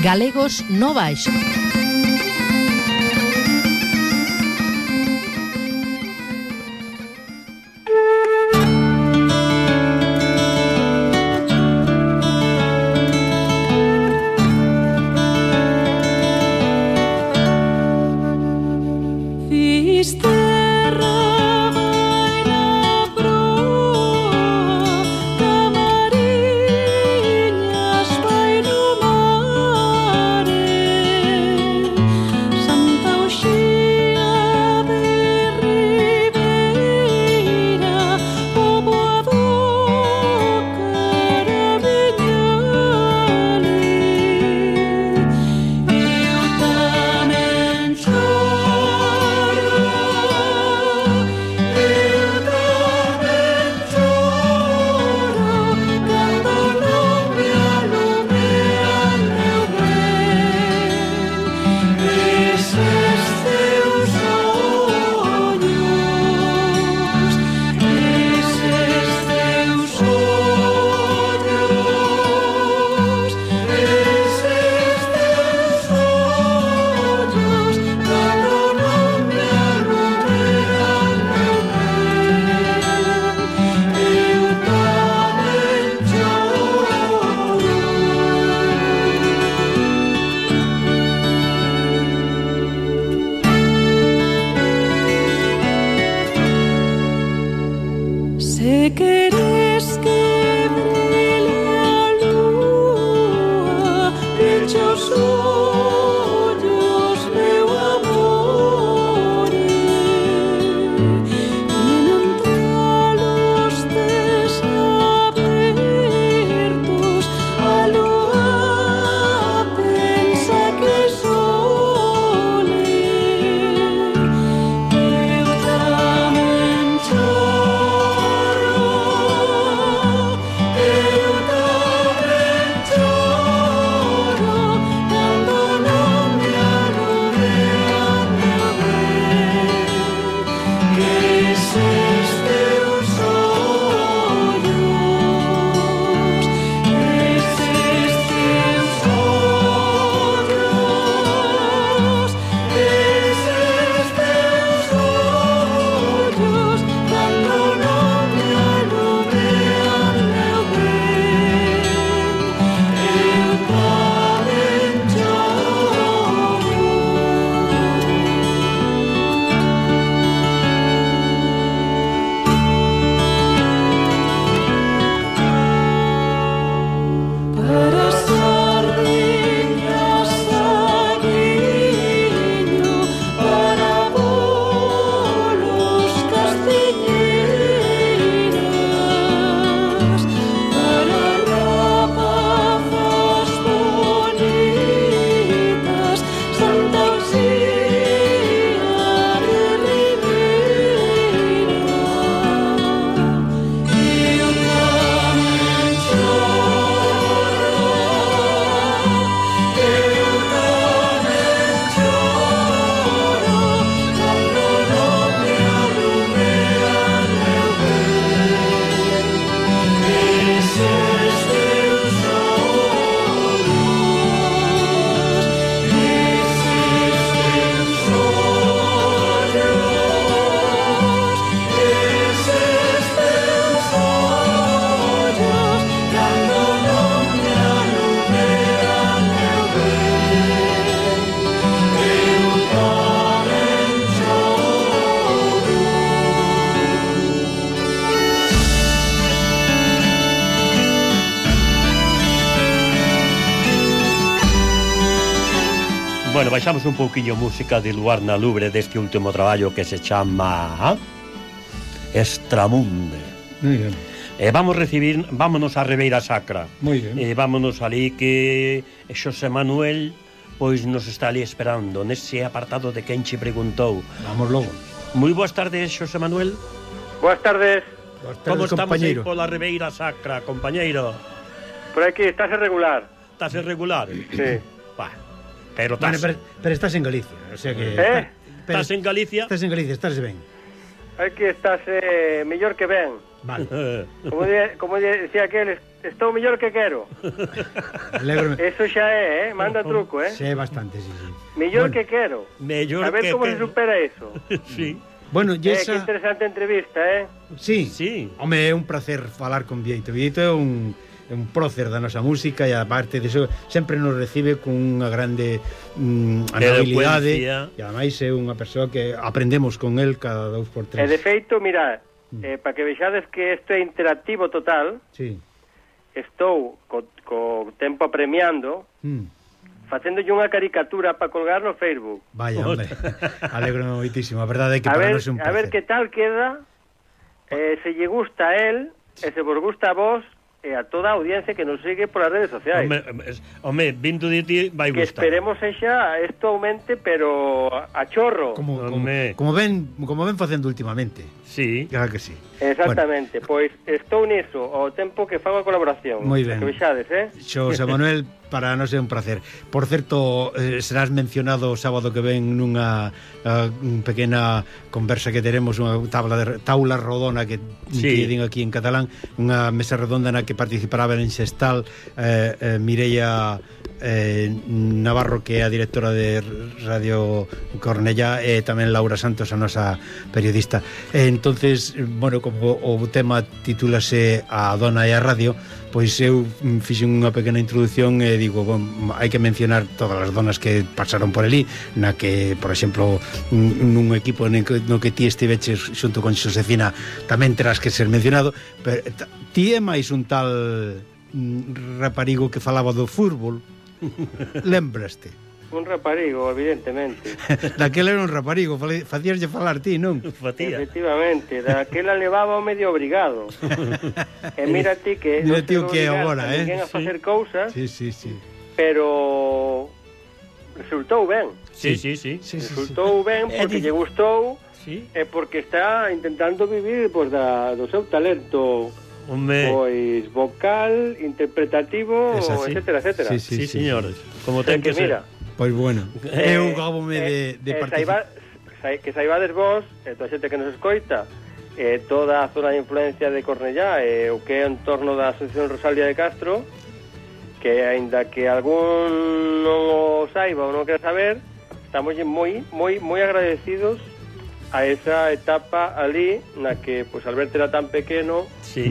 Galegos no Baixo. Bueno, baixamos un pouquiño música de Luar na Lubre deste último traballo que se chama Extramunde. Muy bien. Vámonos a Ribeira Sacra. Muy bien. Vámonos ali que Xosé Manuel pois nos está ali esperando nese apartado de quen che preguntou. Vamos logo. Moi boas tardes, Xosé Manuel. Boas tardes. Como estamos aí pola Ribeira Sacra, compañeiro? Por aquí, estás irregular. Estás irregular? Sí. Pero estás... Bueno, pero estás en Galicia, o sea que... Estás en Galicia? Estás en Galicia, estás ben. Aquí estás mellor que ben. Vale. Como decía aquel, estou mellor que quero. Alégrome. Eso xa é, manda truco, Sé bastante, sí. Mellor Bueno, que quero. Mellor A ver que como quero. se supera eso. Sí. Bueno, Que esa... interesante entrevista, Sí. Sí. Home, é un placer falar con Bieito. Bieito é un prócer da nosa música e aparte de eso sempre nos recibe con unha grande amabilidade Elocuencia. e ademais é unha persoa que aprendemos con el cada 2 por 3. E de feito, mira, para que vexades que isto é interactivo total, Sí. estou co tempo apremiando, facéndolle unha caricatura para colgar no Facebook. Vaya, hombre. Alegro moitísimo. A verdade é que A para ver, nós é un a placer. ver que tal queda, se lle gusta a él, e se vos gusta a vos, e a toda a audiencia que nos sigue polas redes sociais. Home, vindo de ti vai Que gustar. esperemos xa isto aumente, pero a chorro. Como ven facendo últimamente. Sí. Claro que sí. Exactamente, pois estou niso ao tempo que fago a colaboración. Moi ben. Que vexades, Xosé Manuel, para nós é un placer. Por certo, serás mencionado o sábado que ven nunha pequena conversa que teremos, unha taula rodona que din aquí en catalán, unha mesa redonda na que participará en Xestal Mireia Navarro, que é a directora de Radio Cornellá, e tamén Laura Santos, a nosa periodista. Entonces, bueno, como o tema titúlase A Dona e a Radio, pois eu fixen unha pequena introdución e digo, bon, hai que mencionar todas as donas que pasaron por ali, na que, por exemplo, nun equipo no que ti estiveches xunto con Xosefina tamén terás que ser mencionado, pero ti é máis un tal raparigo que falaba do fútbol. Lembraste? Un raparigo, evidentemente. Daquela era un raparigo, facíaslle falar ti, non? Fatía. Efectivamente, daquela levaba o medio obrigado. E mira ti que Mira non ti se o que é obrigar agora, a ninguén a facer cousas, Sí. pero resultou ben. Sí. Resultou ben porque lle gustou e porque está intentando vivir do seu talento. Pois vocal, interpretativo, etcétera. Sí, señores. Como ten que ser. Pois bueno, eu gábome de participar. Que saibades vos, toda a xente que nos escoita, toda a zona de influencia de Cornellá, o que é en torno da Asociación Rosalía de Castro, que aínda que algún non o saiba ou non quera saber, estamos moi agradecidos a esa etapa ali na que, pois, Alberto era tan pequeno se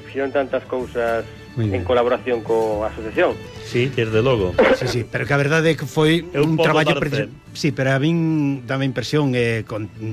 fixeron tantas cousas en colaboración coa asociación. Sí, desde logo. Sí, pero que a verdade é que foi un traballo sí, pero a min dame impresión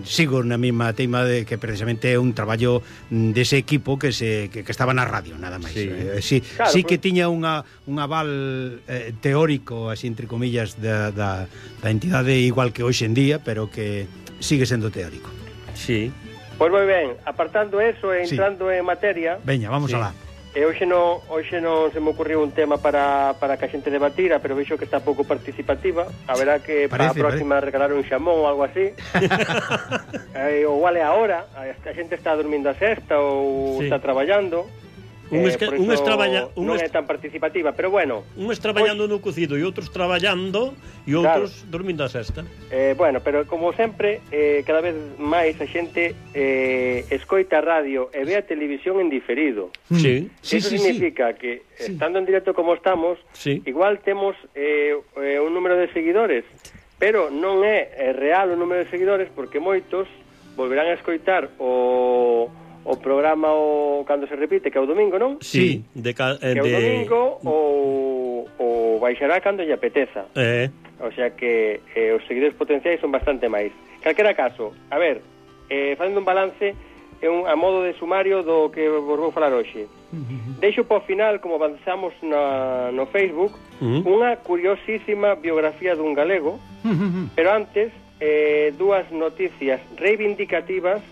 sigo na mesma teima de que precisamente é un traballo dese equipo que estaba na radio, nada máis. Claro, sí que tiña un aval teórico, así entre comillas, da entidade igual que hoxe en día, pero que sigue sendo teórico. Sí. Pois moi ben, apartando eso e entrando en materia. Veña, vamos alá. Hoxe non se me ocurriu un tema para que a xente debatira, pero vexo que está pouco participativa. A verá que para a próxima regalar un xamón ou algo así. Ou vale a hora, a xente está dormindo a sesta ou está traballando. Non é tan participativa, pero bueno. Uns traballando no cocido e outros traballando e outros dormindo a sesta. Bueno, pero como sempre, cada vez máis a xente escoita a radio e ve a televisión en diferido. Eso significa que, estando en directo como estamos, igual temos un número de seguidores, pero non é real o número de seguidores, porque moitos volverán a escoitar o programa cando se repite, que é o domingo, non? Sí, que é o domingo ou baixará cando lle apeteza. O sea que os seguidores potenciais son bastante máis. Calquera caso, a ver, facendo un balance a modo de sumario do que vos vou falar hoxe. Deixo para o final, como avanzamos no Facebook, unha curiosísima biografía dun galego, pero antes dúas noticias reivindicativas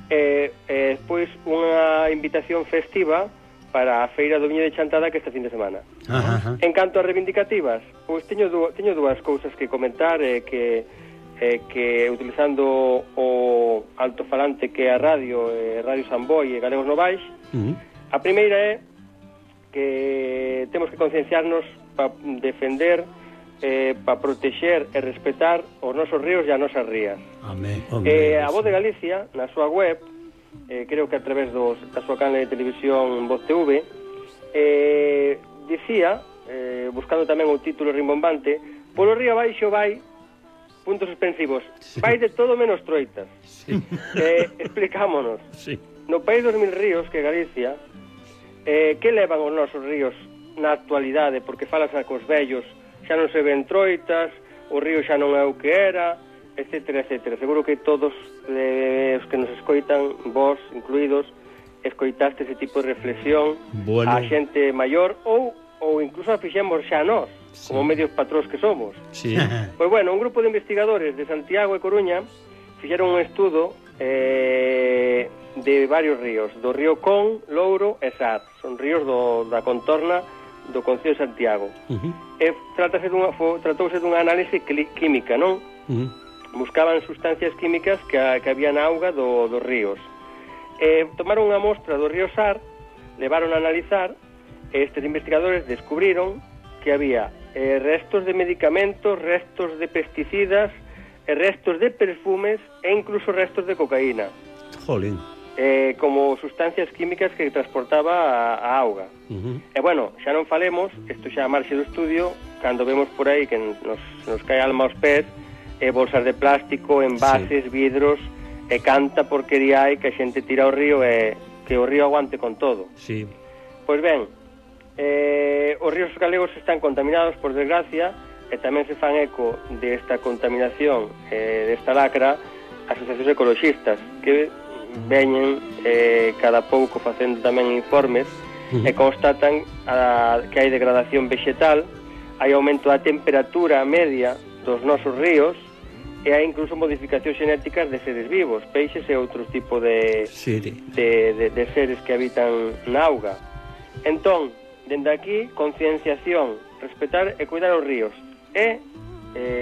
e despois unha invitación festiva para a Feira do Viño de Chantada, que este fin de semana. En canto a reivindicativas, pois teño dúas cousas que comentar, que utilizando o altofalante que é a Radio Samboy e Galegos Novais. A primeira é que temos que concienciarnos para defender, para protexer e respetar os nosos ríos e as nosas rías. Amén. A Voz de Galicia, na súa web, creo que a través da súa canle de televisión Voz TV, dicía, buscando tamén o título rimbombante, polo río abaixo vai, puntos suspensivos, vai de todo menos troitas. Explicámonos. No país dos mil ríos, que é Galicia, que levan os nosos ríos na actualidade, porque falas cos vellos, xa non se ven troitas, o río xa non é o que era, etcétera, etcétera. Seguro que todos os que nos escoitan, vos incluídos, escoitaste ese tipo de reflexión a xente maior ou incluso a fixemos xa nós, como medios patróns que somos. Pois bueno, un grupo de investigadores de Santiago e Coruña fixeron un estudo de varios ríos, do río Con, Louro e Sar. Son ríos da contorna do Concello de Santiago. Tratouse dunha análise química, non? Buscaban sustancias químicas que había na auga dos ríos. Tomaron unha mostra do río Sar, levaron a analizar, e estes investigadores descubriron que había restos de medicamentos, restos de pesticidas, restos de perfumes e incluso restos de cocaína. Jolín. Como sustancias químicas que transportaba a auga. E bueno, xa non falemos, isto xa a marxe do estudio, cando vemos por aí que nos cae alma aos pés, bolsas de plástico, envases, vidros, e canta porquería hai que a xente tira ao río e que o río aguante con todo. Pois ben, os ríos galegos están contaminados, por desgracia, e tamén se fan eco desta contaminación, desta lacra, asociacións ecologistas, que veñen cada pouco facendo tamén informes e constatan que hai degradación vegetal, hai aumento da temperatura media dos nosos ríos, e hai incluso modificacións xenéticas de seres vivos, peixes e outros tipos de seres que habitan na auga. Entón, dende aquí, concienciación, respetar e cuidar os ríos. E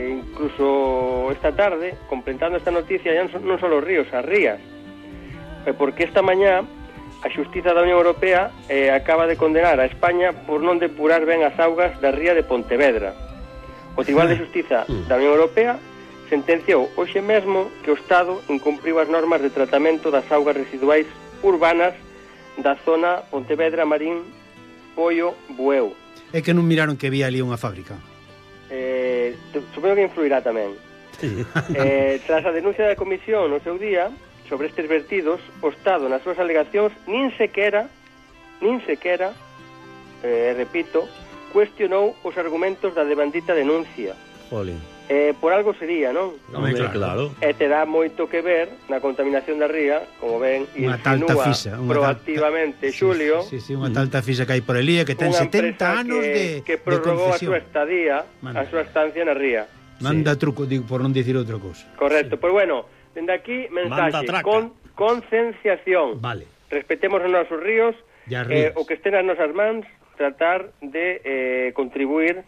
incluso esta tarde, completando esta noticia, non só os ríos, as rías, porque esta mañá a Xustiza da Unión Europea acaba de condenar a España por non depurar ben as augas da ría de Pontevedra. O Tribunal de Xustiza da Unión Europea sentenciou hoxe mesmo que o Estado incumpriu as normas de tratamento das augas residuais urbanas da zona Pontevedra, Marín, Poio, Bueu. É que non miraron que había ali unha fábrica? Supoño que influirá tamén. Tras a denuncia da Comisión no seu día sobre estes vertidos, o Estado nas súas alegacións nin sequera, repito, cuestionou os argumentos da devandita denuncia. Jolín. Por algo sería, non? Claro. E terá moito que ver na contaminación da ría, como ven, insinúa proactivamente Xulio. Unha talta fisa que hai por elía, que ten 70 anos de concesión. Que prorrogou a súa estadía, a súa estancia na ría. Manda truco, digo, por non dicir outra cousa. Correcto, pois bueno, dende aquí, mensaxe, concienciación. Vale. Respetemos os nosos ríos, o que estén nas nosas mans, tratar de contribuir,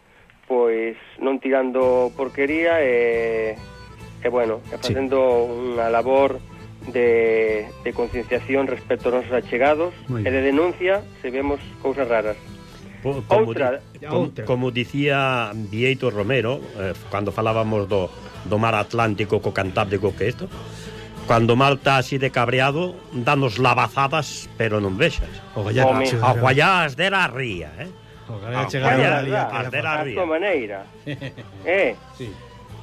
pois non tirando porquería e bueno, facendo unha labor de concienciación respecto aos nosos achegados e de denuncia se vemos cousas raras. Como dicía Vieito Romero, cando falábamos do mar Atlántico co Cantábrico, que isto, cando o mar está así de cabreado, danos lavazadas, pero non vexas. Aguallás de la ría, a súa maneira.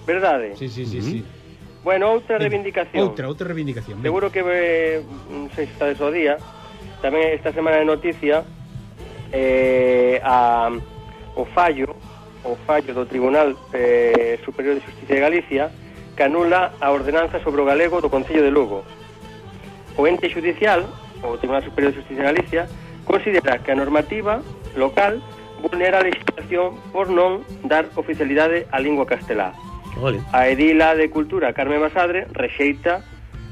Verdade? Sí. Bueno, outra reivindicación. Outra reivindicación. Seguro que non sei se está de o día. Tamén esta semana de noticia o fallo do Tribunal Superior de Xustiza de Galicia que anula a ordenanza sobre o galego do Concello de Lugo. O ente judicial, o Tribunal Superior de Xustiza de Galicia, considera que a normativa local vulnera a legislación por non dar oficialidade á lingua castelá. A edila de Cultura, Carmen Basadre, rexeita,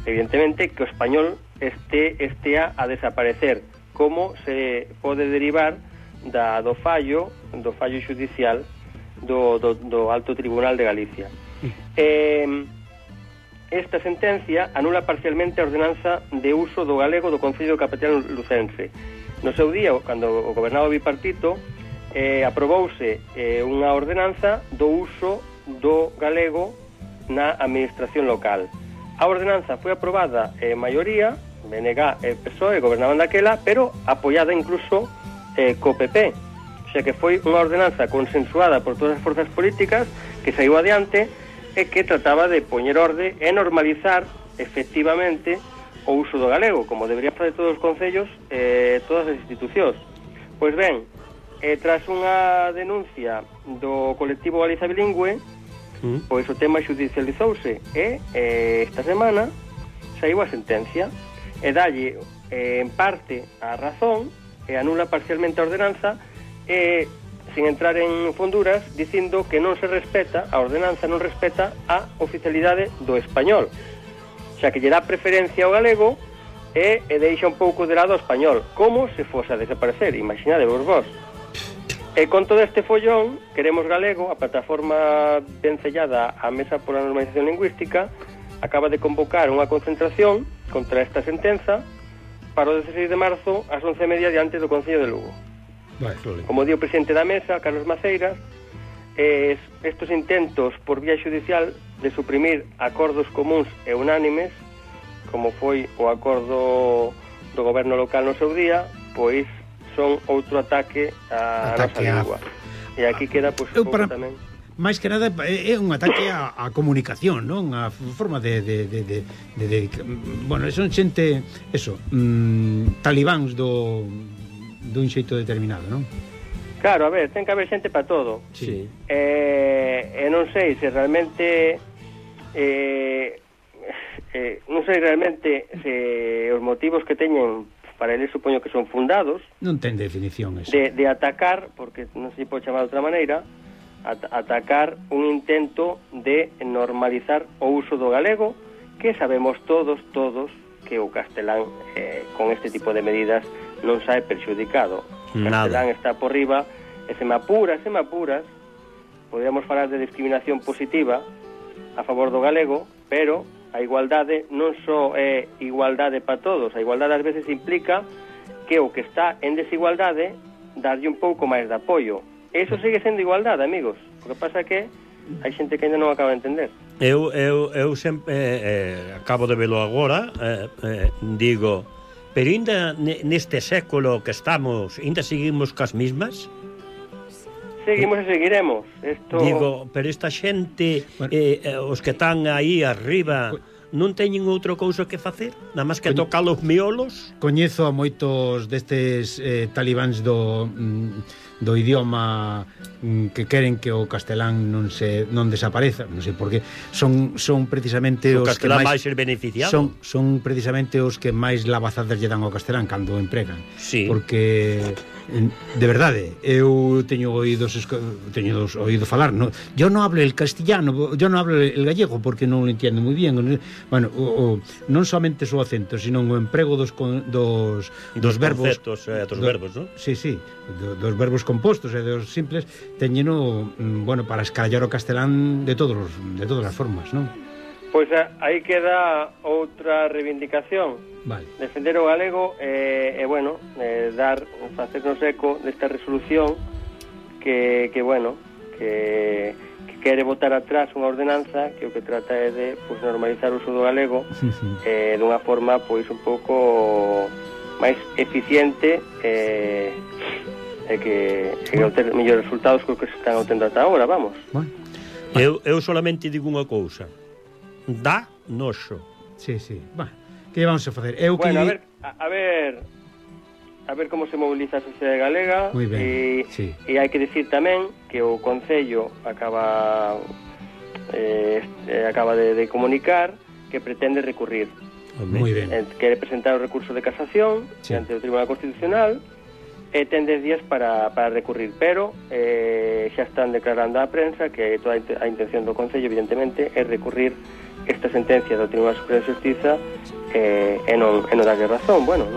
evidentemente, que o español estea a desaparecer, como se pode derivar do fallo judicial do Alto Tribunal de Galicia. Esta sentencia anula parcialmente a ordenanza de uso do galego do Concello Capital Lucense. No seu día, cando o gobernado bipartito, aprobouse unha ordenanza do uso do galego na administración local. A ordenanza foi aprobada en maioría BNG e PSOE gobernaban daquela, pero apoiada incluso co PP. O sea que foi unha ordenanza consensuada por todas as forzas políticas que saiu adiante e que trataba de poñer orde e normalizar efectivamente o uso do galego, como deberían fazer todos os concellos e todas as institucións. Pois ben, tras unha denuncia do colectivo Galiza Bilingüe, pois o tema xudicializouse e esta semana saiu a sentencia e dalle en parte a razón e anula parcialmente a ordenanza e sin entrar en fonduras dicindo que non se respeta, a ordenanza non respeta a oficialidade do español, xa que lle dá preferencia ao galego e deixa un pouco de lado o español, como se fose a desaparecer, imaginadevos vos. E con todo este follón, Queremos Galego, a plataforma vencellada á Mesa pola Normalización Lingüística, acaba de convocar unha concentración contra esta sentenza para o 16 de marzo ás 11:30 diante do Concello de Lugo. Como di o presidente da Mesa, Carlos Maceiras, estos intentos por vía judicial de suprimir acordos comuns e unánimes, como foi o acordo do goberno local no seu día, pois son outro ataque á nosa lingua. E aquí queda pois un pouco tamén. máis que nada é un ataque á comunicación, non? A forma de bueno, son xente, eso, talibáns dun xeito determinado, non? Claro, a ver, ten que haber xente para todo. Sí. E non sei se realmente non sei realmente se os motivos que teñen para eles supoño que son fundados. Non ten definición eso. De atacar, porque non se pode chamar de outra maneira, atacar un intento de normalizar o uso do galego, que sabemos todos que o castelán con este tipo de medidas non sae perxudicado. O castelán está por riba e se me apuras, podríamos falar de discriminación positiva a favor do galego, pero a igualdade non só é igualdade para todos, a igualdade ás veces implica que o que está en desigualdade darlle un pouco máis de apoio. Eso sigue sendo igualdade, amigos. O que pasa é que hai xente que ainda non acaba de entender. Eu sempre acabo de velo agora, digo, pero ainda neste século que estamos, ainda seguimos cas mismas? Seguimos e seguiremos. Digo, pero esta xente, os que están aí arriba, non teñen outra cousa que facer? Nada máis que tocar os miolos? Coñezo a moitos destes talibáns do idioma que queren que o castelán non desapareza, non sei por qué, son precisamente os que máis ser beneficiado. Son precisamente os que máis lavazadas lle dan ao castelán cando o empregan. Sí. Porque de verdade, eu teño oído falar, no, yo non hablo el castellano, yo non hablo el gallego porque non lo entiendo moi bien. Bueno, non somente o acento, sino o emprego dos verbos, conceptos, dos verbos, non? Sí, dos verbos compostos e dos simples, teñeno, bueno, para escallar o castelán de todas as formas, non? Pois aí queda outra reivindicación. Vale. Defender o galego e bueno, facernos eco desta resolución que quere botar atrás unha ordenanza que o que trata é de normalizar o uso do galego dunha forma pois un pouco máis eficiente e que obter mellores resultados que o que se están obtendo ata agora, vamos. Bueno. Eu solamente digo unha cousa. Dá noxo. Sí. Bueno, que vamos a facer? Bueno, a ver como se moviliza a sociedade galega. Muy ben, e hai que dicir tamén que o Concello acaba de comunicar que pretende recurrir. Muy ben. Quere presentar o recurso de casación ante o Tribunal Constitucional e ten 10 días para recurrir, pero xa están declarando á prensa que toda a intención do Concello evidentemente é recurrir esta sentencia do Tribunal Superior de Xustiza e non darlle razón. Bueno,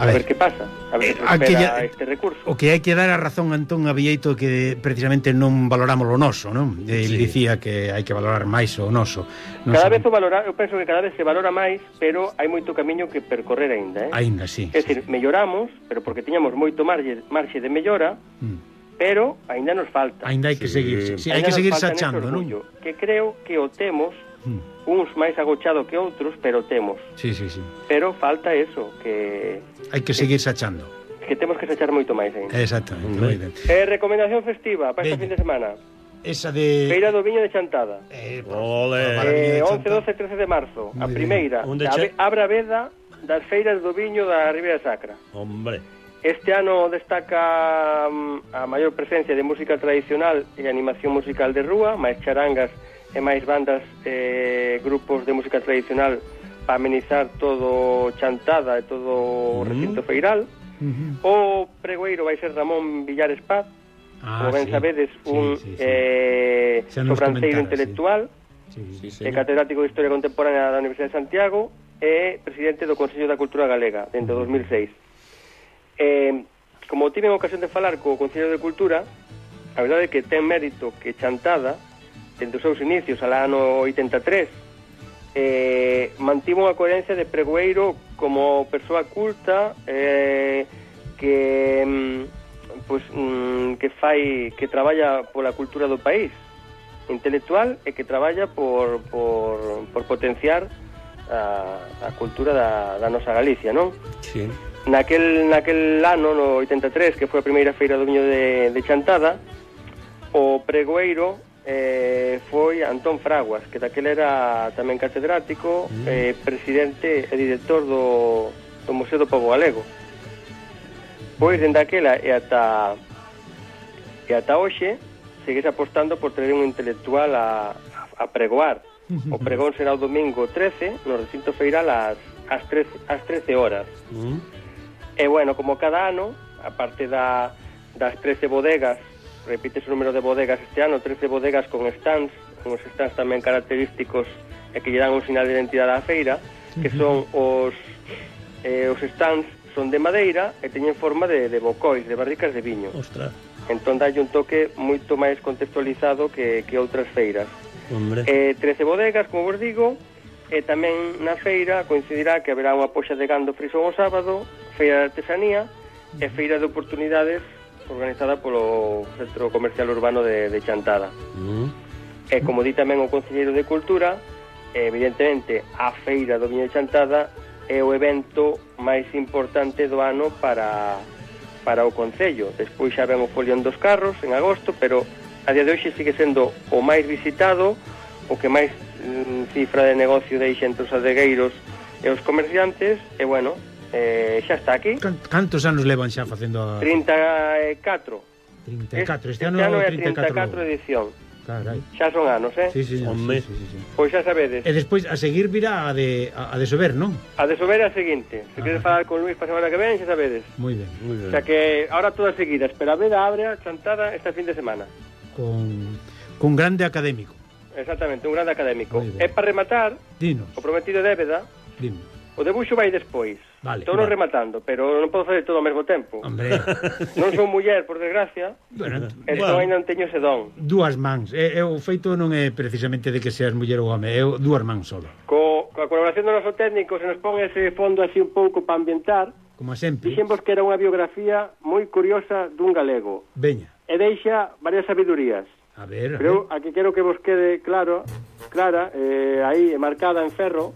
a ver que pasa, a ver se espera este recurso. O que hai que dar a razón a Antón Abieito que precisamente non valoramos o noso, non? Ele dicía que hai que valorar máis o noso. Cada vez eu penso que cada vez se valora máis, pero hai moito camiño que percorrer aínda, Aínda, sí. É dicir, melloramos, pero porque tiñamos moito marxe de mellora, pero aínda nos falta. Aínda hai que seguir, hai que seguir sachando, non? Que creo que o temos uns máis agochado que outros, pero temos. Sí, sí, sí. Pero falta eso, que... Hai que seguir sachando. Que temos que sachar moito máis ainda. Exactamente, moi ben. Recomendación festiva para esta fin de semana. Esa de... Feira do Viño de Chantada. Ole. 11, 12 e 13 de marzo. A primeira. Abra veda das feiras do viño da Ribeira Sacra. Hombre. Este ano destaca a maior presencia de música tradicional e animación musical de rúa, máis charangas e máis bandas grupos de música tradicional para amenizar todo Chantada e todo o recinto feiral. O pregoeiro vai ser Ramón Villares Paz, como ben sabedes, un sobranceiro intelectual, catedrático de Historia Contemporánea da Universidade de Santiago e presidente do Consello da Cultura Galega dentro de 2006. Como tive ocasión de falar co Consello de Cultura, a verdade é que ten mérito que Chantada, dentro dos seus inicios, al ano 83, mantivo unha coherencia de pregoeiro como persoa culta que traballa pola cultura do país, intelectual, e que traballa por potenciar a cultura da nosa Galicia, non? Sí. Naquel ano, no 83, que foi a primeira feira do viño de Chantada, o pregoeiro foi Antón Fraguas, que daquela era tamén catedrático, presidente e director do Museo do Pobo Galego. Pois, dende aquela e ata hoxe, segues apostando por traer un intelectual a pregoar. O pregón será o domingo 13, no recinto feiral ás 13 horas. E, bueno, como cada ano, aparte das 13 bodegas, repítese o número de bodegas este ano, 13 bodegas con stands, uns stands tamén característicos e que lle dan un sinal de identidade á feira, que son os stands son de madeira e teñen forma de bocois, de barricas de viño. Ostras. Entón dalle un toque moito máis contextualizado que outras feiras. Hombre. 13 bodegas, como vos digo, e tamén na feira coincidirá que haberá unha poxa de gando frisón o sábado, feira de artesanía e feira de oportunidades organizada polo Centro Comercial Urbano de Chantada. E como di tamén o Conselleiro de Cultura, evidentemente a feira do Viño de Chantada é o evento máis importante do ano para o Concello. Despois xa ven o folión dos carros en agosto, pero a día de hoxe sigue sendo o máis visitado, o que máis cifra de negocio deixa entre os adegueiros e os comerciantes, e bueno, xa está aquí. Cantos anos levan xa facendo a... 34. Este ano é a 34 edición. Carai. Xa son anos, Sí. Pois xa sabedes. E despois a seguir virá a de Sober, non? A de Sober é a seguinte. Se queres falar con Luís para a semana que ven, xa sabedes. Moi ben. O sea que ahora todas seguidas, pero a veda abre a Chantada esta fin de semana. Con grande académico. Exactamente, un grande académico. E para rematar, dinos. O prometido de Éveda, o debuxo vai despois. Vale, Estou rematando, pero non podo fazer todo ao mesmo tempo. Hombre. Non son muller, por desgracia. Entón ainda non teño ese don. Dúas mans. O feito non é precisamente de que seas muller ou home, é dúas mans solo. Coa colaboración do noso técnico se nos pon ese fondo así un pouco para ambientar. Como sempre. Dixemos que era unha biografía moi curiosa dun galego. Veña. E deixa varias sabidurías. A ver. Pero aquí quero que vos quede clara, aí marcada en ferro,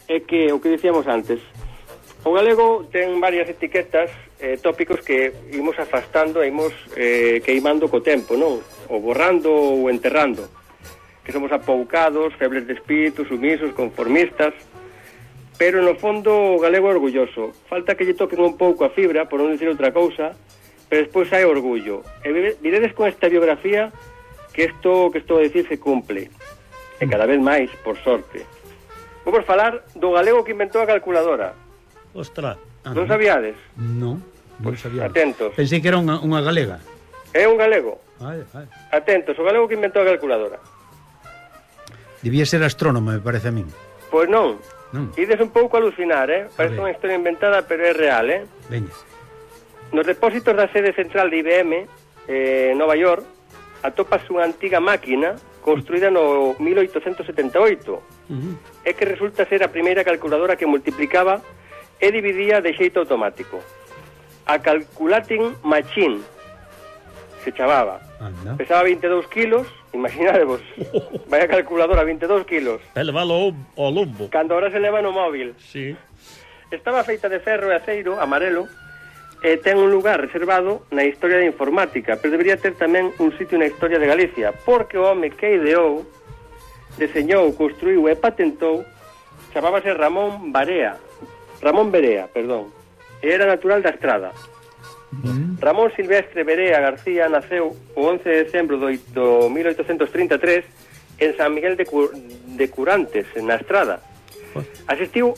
é que o que dicíamos antes. O galego ten varias etiquetas, tópicos que imos afastando e imos queimando co tempo, non? Ou borrando ou enterrando. Que somos apoucados, febles de espírito, sumisos, conformistas. Pero no fondo o galego é orgulloso. Falta que lle toquen un pouco a fibra, por non dicir outra cousa, pero despois hai orgullo. E viredes con esta biografía que isto que estou a dicir se cumple. E cada vez máis, por sorte. Vamos falar do galego que inventou a calculadora. Ostras. Non sabíades? Non sabíades. Atentos. Pensei que era unha galega. É un galego. Vale. Atentos, o galego que inventou a calculadora. Debía ser astrónomo, me parece a min. Pois non. Ides un pouco a alucinar, Parece unha historia inventada, pero é real, Veña. Nos depósitos da sede central de IBM, Nova York, atopas unha antiga máquina construída no 1878. É que resulta ser a primeira calculadora que multiplicaba e dividía de xeito automático. A Calculating Machine se chamaba. Pesaba 22 kilos Imaginadevos, vai a calculadora, 22 kilos. Elevalo ao lombo. Cando ahora se leva no móvil. Sí. Estaba feita de ferro e aceiro, amarelo, e ten un lugar reservado na historia da informática, pero debería ter tamén un sitio na historia de Galicia, porque o home que ideou, deseñou, construiu e patentou, chamábase Ramón Berea, e era natural da Estrada. Ramón Silvestre Berea García naceu o 11 de decembro do 1833 en San Miguel de Curantes, na Estrada. Asistiu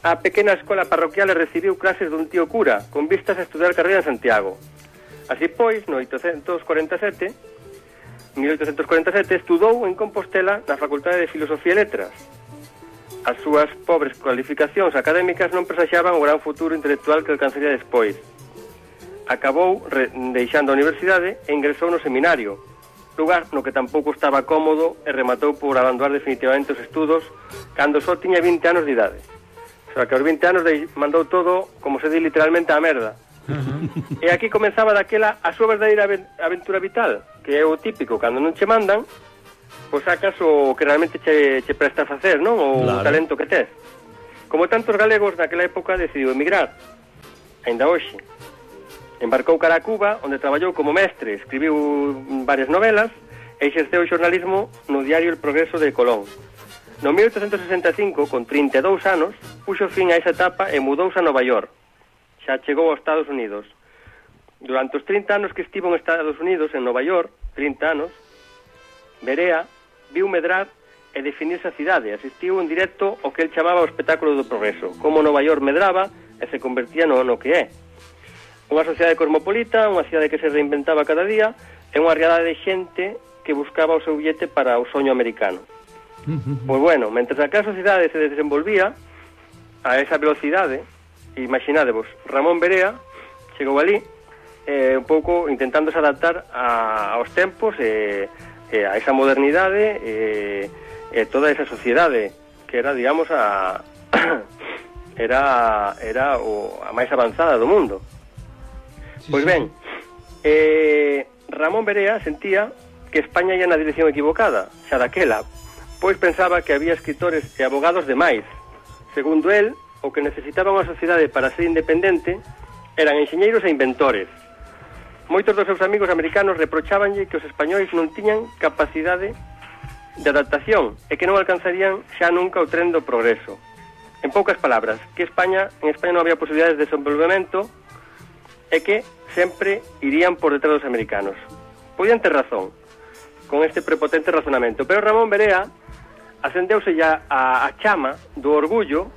á pequena escola parroquial e recibiu clases dun tío cura, con vistas a estudar carreira en Santiago. Así pois, no 1847, estudou en Compostela na Facultade de Filosofía e Letras. As súas pobres cualificacións académicas non presaxaban o gran futuro intelectual que alcanzaría despois. Acabou deixando a universidade e ingresou no seminario, lugar no que tampouco estaba cómodo e rematou por abandonar definitivamente os estudos cando só tiña 20 anos de idade. O sea, que aos 20 anos mandou todo, como se di literalmente, a merda. E aquí comenzaba daquela a súa verdadeira aventura vital, que é o típico, cando non che mandan, pois sacas o que realmente che presta a facer, non? O claro. Talento que tes. Como tantos galegos naquela época decidiu emigrar, ainda hoxe. Embarcou cara a Cuba, onde traballou como mestre, escribiu varias novelas e exerceu o xornalismo no diario El Progreso de Colón. No 1865, con 32 anos, puxo fin a esa etapa e mudouse a Nova York. Xa chegou aos Estados Unidos. Durante os 30 anos que estivo en Estados Unidos, en Nova York, 30 anos, Berea viu medrar e definirse a cidade. Asistiu en directo ao que el chamaba o espectáculo do progreso, como Nova York medraba e se convertía no que é. Unha sociedade cosmopolita, unha cidade que se reinventaba cada día, e unha riada de xente que buscaba o seu billete para o soño americano. Pois bueno, mentre a sociedade se desenvolvía a esa velocidade, imaginadevos, Ramón Berea chegou ali un pouco intentándose adaptar aos tempos e a esa modernidade e toda esa sociedade que era, digamos, era a máis avanzada do mundo. Pois ben, Ramón Berea sentía que España ia na dirección equivocada, xa daquela, pois pensaba que había escritores e abogados demais. Segundo el, o que necesitaba unha sociedade para ser independente eran enxeñeiros e inventores. Moitos dos seus amigos americanos reprochábanlle que os españois non tiñan capacidade de adaptación e que non alcanzarían xa nunca o tren do progreso. En poucas palabras, que en España non había posibilidades de desenvolvemento e que sempre irían por detrás dos americanos. Podían ter razón con este prepotente razonamento, pero Ramón Berea acendeuse ya a chama do orgullo,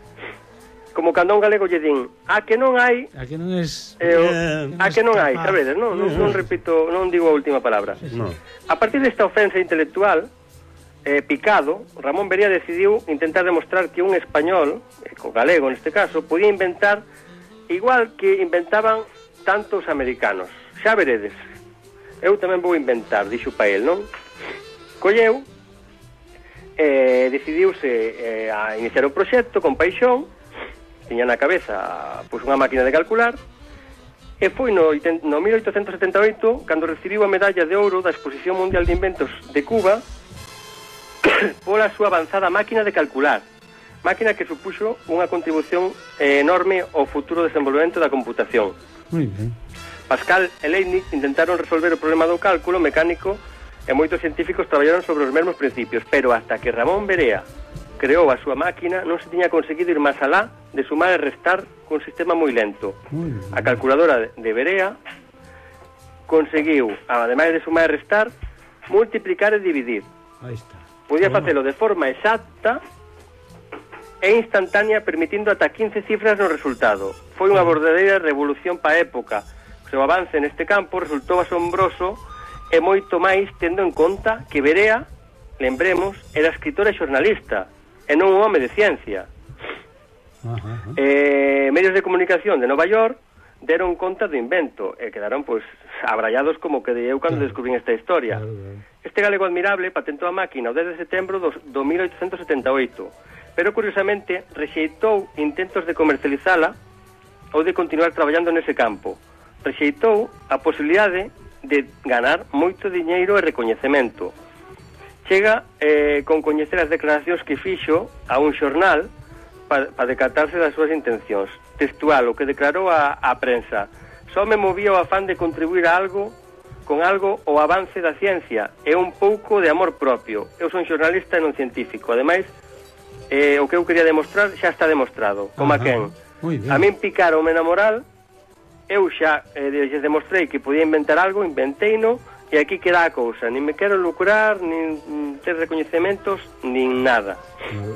como cando a un galego lle din a que non hai, a que non es a que non hai, sabedes, non repito, non digo a última palabra. No. A partir desta ofensa intelectual, picado, Ramón Berea decidiu intentar demostrar que un español, co galego neste caso, podía inventar igual que inventaban tantos americanos. Xa veredes, eu tamén vou inventar, dixo pa el, non? Colleu, decidiuse a iniciar o proxecto con paixón, tiña na cabeza pois unha máquina de calcular, e foi no 1878 cando recibiu a medalla de ouro da Exposición Mundial de Inventos de Cuba pola súa avanzada máquina de calcular, máquina que supuxo unha contribución enorme ao futuro desenvolvemento da computación. Muy bien. Pascal e Leibniz intentaron resolver o problema do cálculo mecánico e moitos científicos traballaron sobre os mesmos principios, pero hasta que Ramón Berea creou a súa máquina non se tiña conseguido ir máis alá de sumar e restar con un sistema moi lento. A calculadora de Berea conseguiu, ademais de sumar e restar, multiplicar e dividir. Aí está. Podía facelo de forma exacta e instantánea, permitindo ata 15 cifras no resultado. Foi unha verdadeira revolución pa época. O seu avance neste campo resultou asombroso e moito máis tendo en conta que Berea, lembremos, era escritor e xornalista e non un home de ciencia. Medios de comunicación de Nova York deron conta do invento e quedaron pois abrallados como que eu cando descubrín esta historia. Este galego admirable patentou a máquina o 10 de setembro do 1878, pero curiosamente rexeitou intentos de comercializala ou de continuar traballando nese campo. Rexeitou a posibilidade de ganar moito diñeiro e recoñecemento. chega con coñecer as declaracións que fixo a un xornal para decatarse das súas intencións. Textual, o que declarou a prensa: só me movía o afán de contribuir a algo con algo o avance da ciencia e un pouco de amor propio. Eu son xornalista e non científico. Ademais, o que eu quería demostrar xa está demostrado. Como a quen? A min picaronme na moral, eu xa lles demostrei que podía inventar algo, inventeino, e aquí queda a cousa. Nin me quero lucrar, nin ter recoñecementos, nin nada.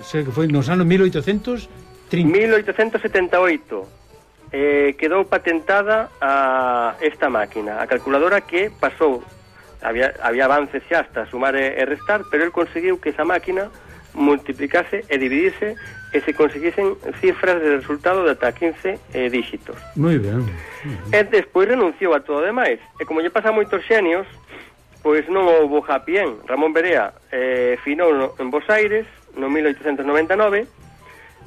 Sei que foi nos anos 1830. 1878. Quedou patentada esta máquina, a calculadora, que pasou, había avances xa hasta sumar e restar, pero el conseguiu que esa máquina multiplicase e dividise e se conseguisen cifras de resultado de ata 15 dígitos. Moi ben. E despois renunciou a todo demais, e como lle pasa a moitos xenios, pois non houbo happy end. Ramón Berea finou en Bos Aires no 1899.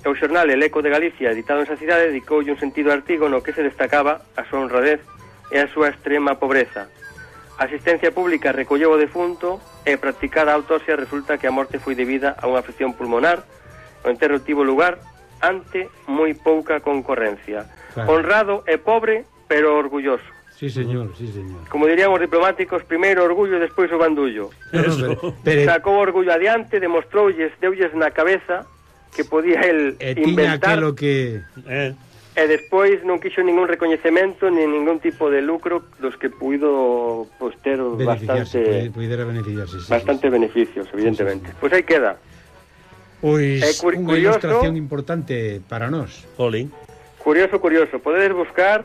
O xornal El Eco de Galicia, editado en esa cidade, dedicoulle un sentido artigo no que se destacaba a súa honradez e a súa extrema pobreza. A asistencia pública recolleu o defunto e practicada a autopsia resulta que a morte foi debida a unha afección pulmonar. O enterro tivo lugar ante moi pouca concorrencia. Claro. Honrado e pobre, pero orgulloso. Sí, señor, sí, señor. Como dirían os diplomáticos, primeiro orgullo e despois o bandullo. Sacou o orgullo adiante, demostroulles, deulles na cabeza que podía el inventar que... e despois non quixo ningún recoñecemento nin ningún tipo de lucro dos que puido ter bastante beneficios, evidentemente. Pois aí queda. Pois unha ilustración importante para nós. Curioso, podedes buscar,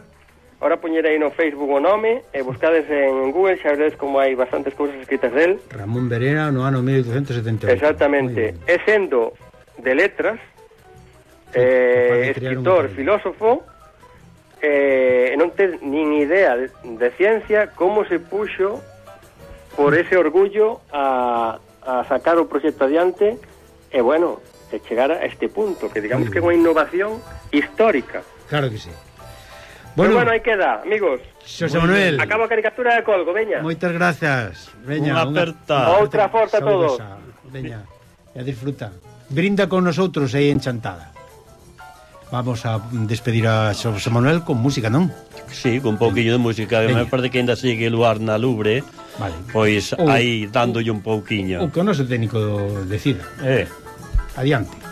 ahora poñer aí no Facebook o nome e buscades en Google, xa veredes como hai bastantes cousas escritas del. Ramón Berea no ano 1878. Exactamente. E sendo de letras, escritor, filósofo, non ten nin idea de ciencia, como se puxo por ese orgullo a sacar o proxecto adiante e, bueno, de chegar a este punto, que digamos que é unha innovación histórica. Claro que sí. Bueno, aí queda, amigos. Xosé Manuel, acabo a caricatura de colgo, veña. Moitas grazas. Veña, unha aperta. Outra forza a todos. Veña, e a disfruta. Brinda con nosotros aí en Chantada. Vamos a despedir a Xosé Manuel con música, non? Sí, con un pouquinho de música. Me parece que ainda sigue Luar na Lubre. Vale. Pois aí dándolle un pouquiño. O que o noso técnico decida. Adiante.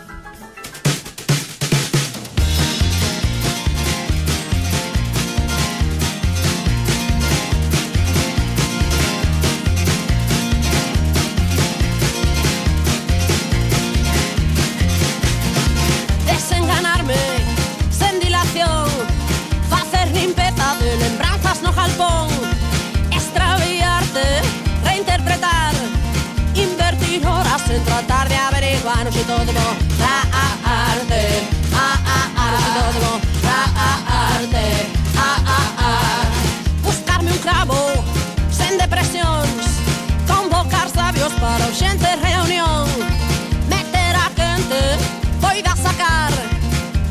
Tratar de averiguar si todo arte, si todo arte, buscarme un clavo sen depresións, convocar sabios para urxente reunión, meter a quente, poida sacar,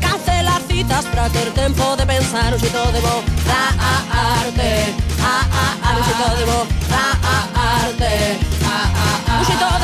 cancelar citas para ter tempo de pensar si todo arte, si todo arte, si todo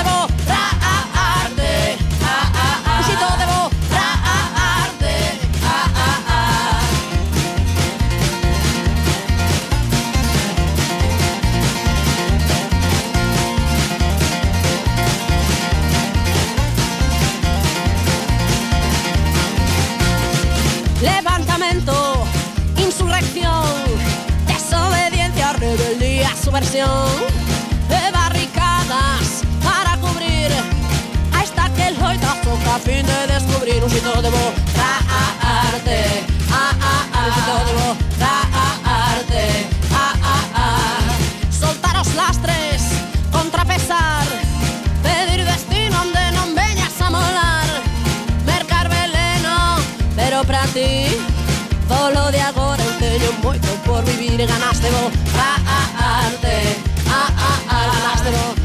levantamento, insurrección, desobediencia, rebeldía, subversión, de barricadas para cubrir a esta que el hoitazo a fin de descubrir un sitio de arte, un sitio de arte, soltar os lastres, contrapesar, pedir destino onde non veñas a molar, mercar veneno, pero pra ti polo de agora eu teño moito por vivir e ganaste arte, ganaste